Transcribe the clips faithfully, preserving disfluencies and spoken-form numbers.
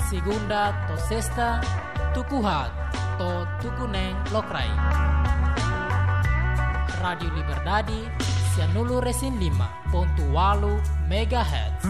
Segunda to'o sesta, tuku haat to'o tuku neen lokraik. Rádiu Liberdade, sianulu-resin-lima pontu ualu megahertz.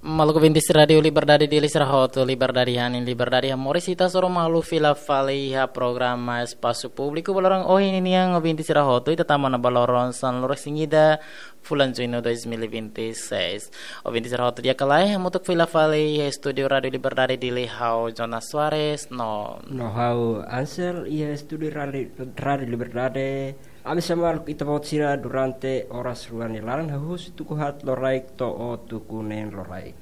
Maluk ouvintes Rádiu Liberdade, Dili sira hotu, Liberdade hanesan Liberdade hamoris, ita hasoru malu fila fali iha programa Espasu Públiku ba loron ohin nian, ouvintes sira hotu, ita tama ona ba loron sanulu-resin-ida fulan Juñu dois mil e vinte e seis. Ouvintes sira hotu, di'ak ka lae, hamutuk fila fali iha estúdiu Rádiu Liberdade, Dili, ha'u Jonas Soares no, no ha'u Ansel, iha estúdiu Rádiu, Rádiu Liberdade. Ami sei hamaluk ita-boot sira durante oras rua nia laran, husi tuku haat lokraik to'o tuku neen lokraik.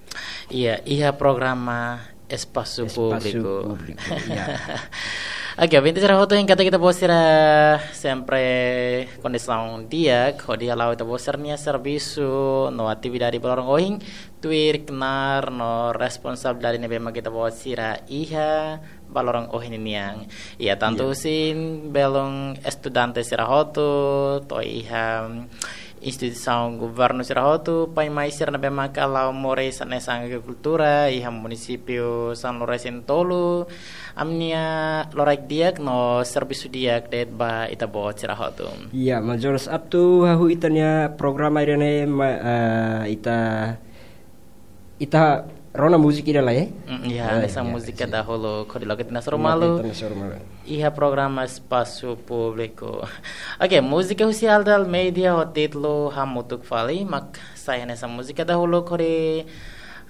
Iya, iha programa Espasu, Espasu Públiku. Públiku, iya. Oke, ouvintes sira hotu, hein katak ita-boot sira sempre kondisaun di'ak hodi hala'o ita-boot sira-nia servisu no atividade ba loron ohin, tuir knaar no responsabilidade ne'ebé mak ita-boot sira iha ba loron ohin nian. Iya, tantu, iya, husi belun estudante sira hotu, to'o iha instituisaun governu sira hotu, pai-mai sira ne'ebé maka hala'o moris hanesan agrikultura iha munisípiu sanulu-resin-tolu, ami-nia lokraik di'ak no servisu di'ak de'it ba ita-boot sira hotu. Iya, maun Jonas, atu hahú ita-nia programa ida-ne'e, ma-, eh, ita, ita rona múzika ida lai, eh? Mm, iya, ah, hanesan, iya, múzika, sin, dahuluk, hodi loke ita-nia hasoru malu. Loke ita-nia hasoru malu iha programa Espasu Públiku. Oke, múzika husi Alda Almeida ho títulu Hamutuk Fali, mak sai hanesan múzika dahuluk hodi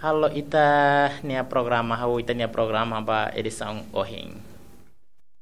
halo ita-nia programa, hahú ita-nia programa ba edisaun ohin.